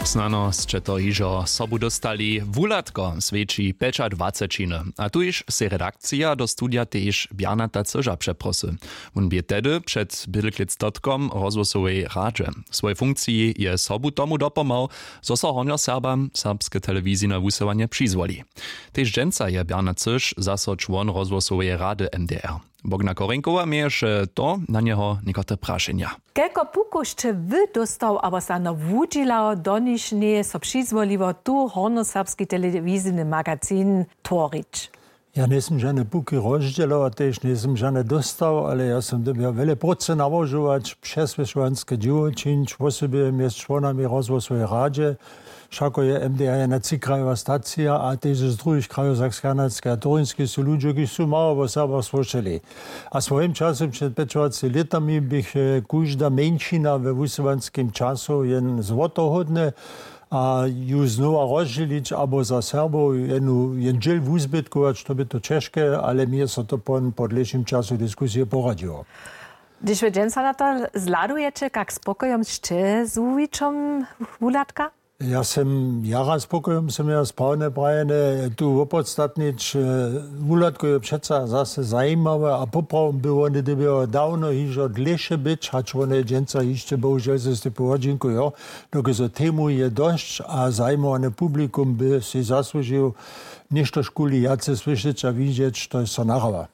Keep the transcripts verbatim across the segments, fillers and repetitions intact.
Snano sće to hižo sobu dóstali. Wuhladko swjeći pjećadwacećiny, a tuž sej redakcija do studija tež Bjarnata Cyža přeprosy. Wón bě tehdy před bědlklěc dotkom w rozhłosowej radźe. W swojej funkciji je sobu tomu dopomhał, zo so hornjoserbam serbske telewizijne wusyłanje přizwoli. Tež dźensa je Bjarnat Cyž zaso čłon rozhłosoweje rady MDR. Bogna Korinkowa měješe to na njeho někotre prašenja. Kelko pukow sće wy dóstał abo snano wudźělał, do nichž njeje so přizwoliło tu hornjoserbski telewizijny magazin tworić? Ja njejsym žane puki rozdźělował, tež njejsym žane dóstał, ale ja sym dyrbjał wjele prócy nałožować, přeswědčowanske dźěło čińć, wosebje mjez čłonami rozhłosoweje radźe. Wšako je MDR jedna třikrajowa stacija a tež z druhich krajow Sakskej, Hanatskej a Torinskej su ludźo, kiž su mało wo Serbach słyšeli. A w swojim času před pjećadwaceći lětami běch, e, kóžda mjeńšina we wusyłanskim času jen złotohódny, a ju znowa rozdźělić abo za Serbow jenu, jen dźěl wuzbytkować, to by to ćežke, ale mi je so to po, po dlěšim času diskusije poradźiło. Hdyž wy dźensa na to zhladujece, kak spokojom sće z wuwićom wuhladka? Ja sym jara spokojom, sym ja sprawne prajene tu wopodstatnić. E, wuhladko je přeca zase zajimawe a poprawom by wone dyrbjało dawno hižo dlěše być, hač wone dźensa hišće bohužel ze stypu wodźinkujo, dokelž so temu je dosć a zajimowany publikum by sej zasłužił něštožkuli wjace słyšeć a widźeć, to je so nahrawa.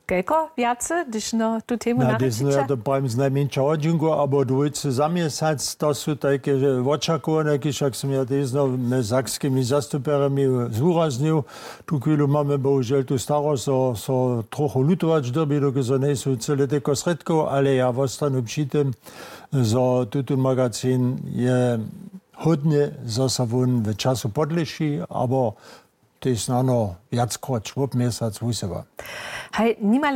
Kelko wjace, hdyž no tu temu na hdyž no ja to prajim, znajmjeńša hodźinku abo dwójce za měsac, to su tajke, e, wočakowane, kiž, jak sym ja tež znow mjez sakskimi zastupjerjemi zwuraznju. Tu chwilu mamy bohužel tu starosć, zo so trochu lutować dyrbi, dokelž so njejsu cyle telko srědkow, ale ja wostanu při tym, zo tutón magazin je hódny, zo so wón w času podlěši abo tež snano wjackroć wob měsac wusyła. Haj, nimale